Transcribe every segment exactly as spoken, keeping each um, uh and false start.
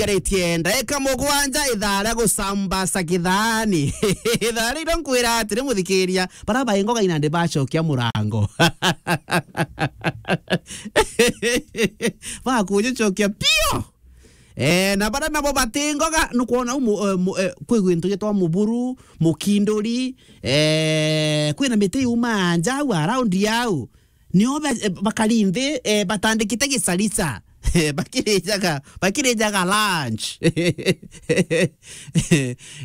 Garitie ndaika mugwanja ithaa ria gucambaca kithani. Ithaa ria iro nkwira atiri, muthikiria, bara baingoga inandi bacokia murango. Bakujucokia pio. Eh, na bara nabo batingoga, nukwona u mu-, eh, mu-, eh, kwi gwintu gitwa muburu, mukinduri, eh, kwina miti yuma nja au around yau. Nio be-, eh, bakari nthi, eh, batandikite gicarica. Eh, bakirijaga, bakirijaga lunch.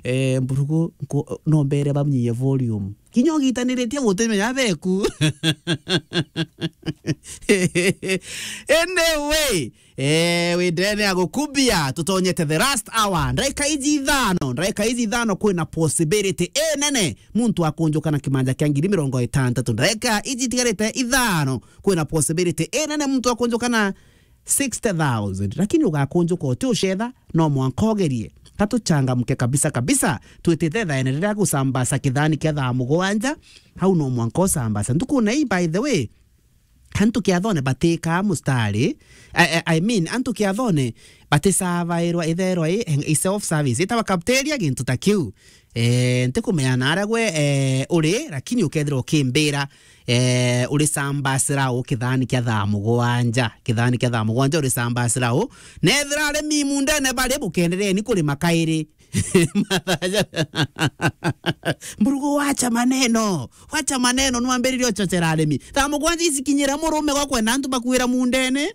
Eh, mburugu, nku-, no mbere bamnyie volume. Kinya ugitaniritie gutimenya beku. Anyway, eh, wi ndene ya gukubia, tutonyete the last hour. Ndaika iji ithano, ndaika iji ithano kwina possibility inene muntu akunjuka na kimanja kia ngiri mirongo itantatu. Ndaika iji itigarite ithano, kwina possibility inene muntu akunjuka na sixty thousand. Lakini ugakunjuka uti ucetha, no mwanka ugerie. Ka tuchangamke kabisa kabisa. Twitite thaene riria gucambaca kithani kia thaa mugwanja, hau no mwanka ucambaca. Ntukune ii, by the way, antu kiathone batikaa mustari, I, I, I mean, antu kiathone batisavairwa itherwa i, i self service. Itawa cafeteria, gintu ta kiu. Eh, ntikumenya naara gwe, eh, uri, lakini ukethira ukimbira, eh, uri sambasira u kithani kia thaa mugwanja, kithani kia thaa mugwanja uri sambasira u. Nethira ari mimu ndene bari, bukendereni kurima kairi. Mburugu, wacha maneno. Wacha maneno, nwambiririe uchochera arimi. Thaa mugwanja icikinyira murume gwa kwenda antu bakuira mundene.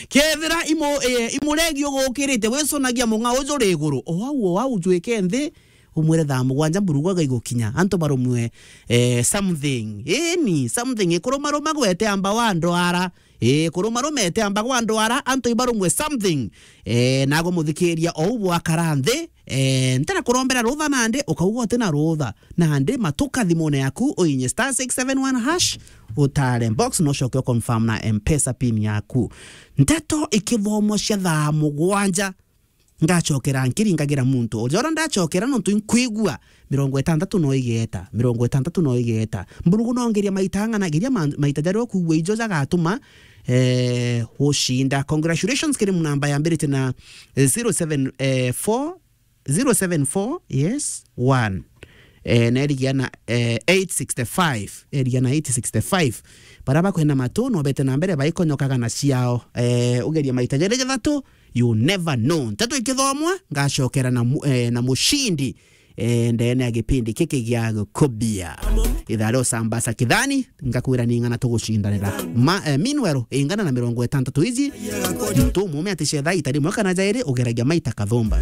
Kethira imu-, eh, imuregi ugukirite, wicunagia mung'a uju ri iguru. O au, o au, ujwike nthi, umwire thaa mugwanja mburugu agaigukinya. Antu barumwe, eh, something. Eni, something. Ikurumaruma gwete amba wa ndwara. Ii, kurumaruma ete amba gwa ndwara, antu ibarumwe something. Eh, nago muthikiria ou bwakara nthi, eh, ntira kurombera rutha nandi, ukauga uti na rutha. Nandi matuka thimune yaku, uinye star six seven one hash, utare box, no ucoke u confirm na M-Pesa pin yaku. Nteto ikithomwa cia thaa mugwanja, ngacokera nkiringagira muntu. Ujora ndacokera nontu inkwigua, mirongo itantatu no igeta, mirongo itantatu no igeta. Mburugu no ngeria maita ang'ana, geria ma-, maita jaria ukuigua ijo jagatuma, eh, ucinda. Congratulations kiri namba yambirite na, eh, zero seven, eh, four, zero seven four, yes, one. Eh, na erigia na, eh, eight sixty-five, erigia na eight sixty-five. Bara bakwenda matu, no bete na mbere baikonyokaga na ciao. Eh, ugeria maita jaria jathatu, you never know. Nteto ikithomwa, ngacokera na mu-, eh, na mucindi, eh, ndene ya gipindi kiki gia gukubia. Ithaa ria ucambaca kithani, ngakwira ni ng'ana tugucindanira. Ma, eh, meanwhile, ingana na mirongo itantatu iji, muntu umume aticetha ita rimwe kana jairi, ugeragia maita kathumba.